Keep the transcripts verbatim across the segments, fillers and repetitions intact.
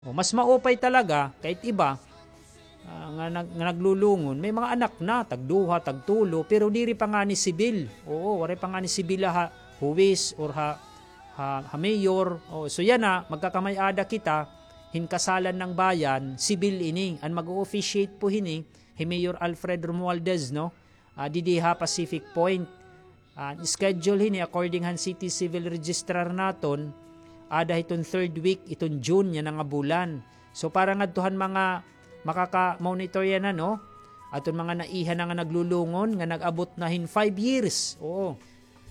O, mas maupay talaga, kay it iba, ah, nga nag-, nga naglulungon, may mga anak na, tagduha, tagtulo, pero diri pa ngani sibil. Oo, waray pa ngani sibil ha huwis or ha, ha, ha mayor. O, so yana, magkakamay-ada kita, hin kasalan ng bayan, sibil ini. An mag-o-officiate po hini, hi Mayor Alfred Romualdez, no? Ah, didi ha Pacific Point. Ah, schedule hini according han City Civil Registrar naton, ada hiton third week iton June yana nga bulan. So, para ngadto han mga makaka-monitor yana, no? Aton mga naiha na nga naglulungon, nga nag-abot na hin five years. Oo.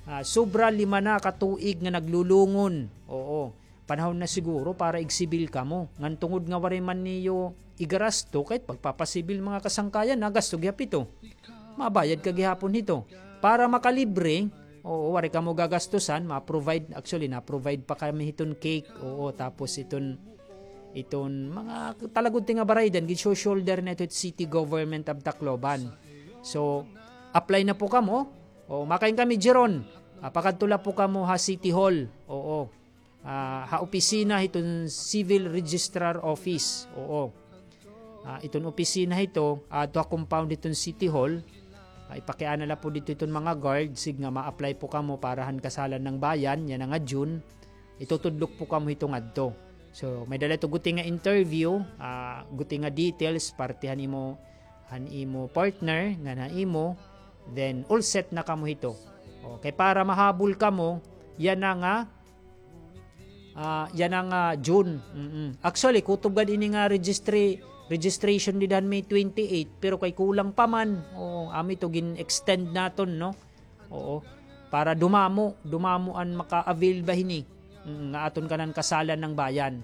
Ah, sobra lima na ka tuig nga naglulungon. Oo. Panahon na siguro para igsibil kamo. Ngan tungod nga waray man niyo igarasto, kay pagpapasibil mga kasangkayan, nagasto gihap ito. Mabayad ka gihapon hito. Para makalibre, oo, waray kamo gagastusan, ma-provide, actually, na-provide pa kami hiton cake, oo, tapos iton, iton mga talagudti nga baraydan, gin-shoulder na ito it City Government of Tacloban. So, apply na po kamo. O, makain kami, Jeron. Ah, pakadto la po kamo ha City Hall. Oo. Ah, ha opisina hiton Civil Registrar Office. Oo. Ah, iton opisina hito, adto ha compound hiton City Hall. Ah, ipakiana la po didto hiton mga guard, sige nga ma-apply po kamo para han kasalan ng bayan, yana nga June. Itutudlok po kamo hito ngadto. So, may dala ito guti nga interview, ah, guti nga details, parte han imo, han imo partner, ngan ha imo, then all set na kamo hito. Okay, para mahabol kamo, yana nga, ah, yana nga June. Mm-mm. Actually, kutob gad ini nga registry, registration dida han May twenty-eight, pero kay kulang pa man. Oo, amo ito gin-extend naton, no? Oo. Para dumamo, dumamo an maka-avail ba hini. Mm, nga aton kanan kasalan ng bayan.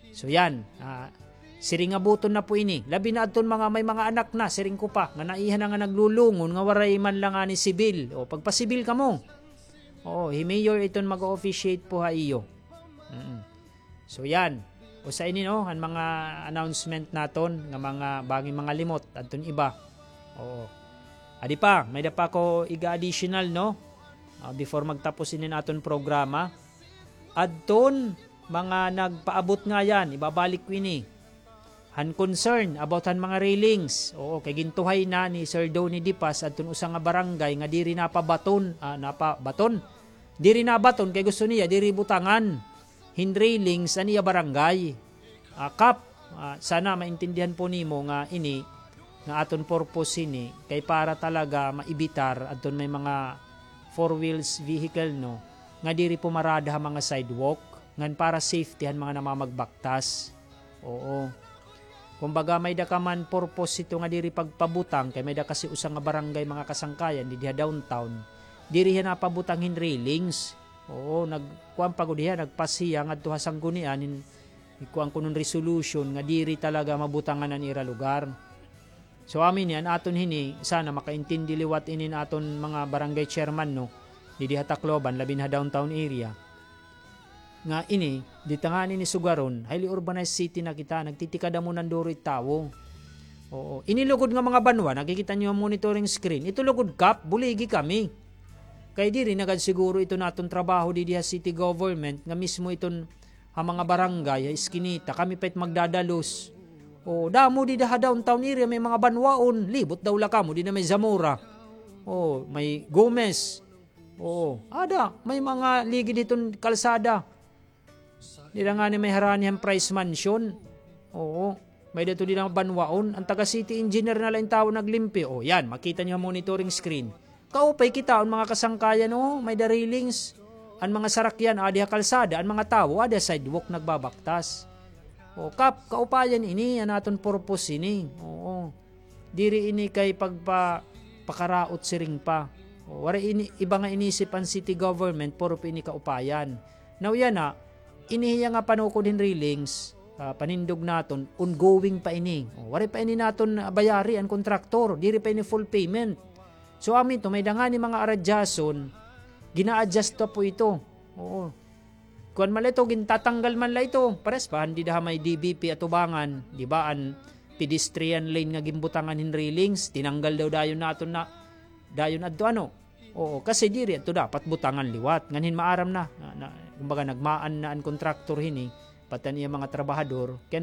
So yan, ah, siring nga buton na po ini. Labi na adton mga may mga anak na, siring ko pa, nga naiha na nga naglulungon, nga waray man la ngani sibil. O, pagpasibil kamo. Oo, hi Mayor iton mag-officiate po ha iyo. Mm. So yan. Usa ini, no, an mga announcement naton nga mga bangin mga limot adton iba. Oo. Adi pa, may da pa ko iga-additional, no? Ah, before magtapos ini aton programa. Adton mga nagpaabot ngayan, ibabalik ko ini. Han concern about han mga railings. Oo, kay gintuhay na ni Sir Donny Dipas adton usa nga barangay nga diri napabaton, ah, napabaton. Diri nabaton kay gusto niya diri butangan hin railings an iya barangay. Ah, Kap, ah, sana maintindihan po nimo nga ini, nga aton purpose hini, kay para talaga maibitar adton may mga four wheels vehicle, no, nga diri pumarada ha mga sidewalk, ngan para safety han mga namamagbaktas. Oo. Kumbaga, may da ka man purpose hito nga diri pagpabutang, kay may da kasi usa nga barangay, mga kasangkayan, didi ha downtown. Diri hiya napabutang hin railings. Oo, nag-, kuan pa gud hiya, nagpas hiya ngadto ha sanggunian, hin-, kuan kuno hin resolution nga diri talaga mabutangan an ira lugar. So, amo ini, an aton hini, sana makaintindi liwat ini an aton mga barangay chairman, no? Didi ha Tacloban, labi na ha downtown area. Nga ini, dida ngani ini sugaron, highly urbanized city na kita, nagtitikada mo nanduro it tawo. Oo. Ini lugod nga mga banwa, nakikita niyo ang monitoring screen. Ito lugod, Kap, buligi kami. Kay diri na gad siguro ito naton trabaho didi ha city government, nga mismo iton ha mga barangay, ha iskinita, kami pa it magdadalos. O, damo dida ha downtown area, may mga banwaon, libot daw la kamo, dida may Zamora. O, may Gomez. Oo, ada, may mga ligid hiton kalsada. Dida ngani may harani han Price Mansion. Oo, may-ada ito dida banwaon. An taga city engineer na la in tawo naglimpyo. O, yan, makita niyo ha monitoring screen. Kaupay kita, an mga kasangkayan, o, may-ada railings. An mga sarakyan, adi ha kalsada, an mga tawo, adi ha sidewalk nagbabaktas. O, Kap, kaupayan ini, an aton purpose ini. Oo. Diri ini kay pagpa-, pakaraot siring pa. O, waray ini, iba nga inisip an city government, puro pa ini kaupayan. Now, yana, ini hiya nga panukod hin railings, ah, panindog naton, ongoing pa ini. O, waray pa ini naton, ah, bayari an kontraktor, diri pa ini full payment. So, amo ito, may-ada ngani mga aradyason, gina-adjust pa po ito. Oo. Kuan man la ito, gintatanggal man la ito. Pares pa, han dida ha may D B P atubangan, di ba, an pedestrian lane nga ginbutangan hin railings, tinanggal daw dayon naton na, dayon adto, ano? Oo, kasi diri adto dapat butangan liwat. Ngan hin maaram na, na, na, kumbaga, nagmaan na an kontraktor hini, pati an iya mga trabahador, kay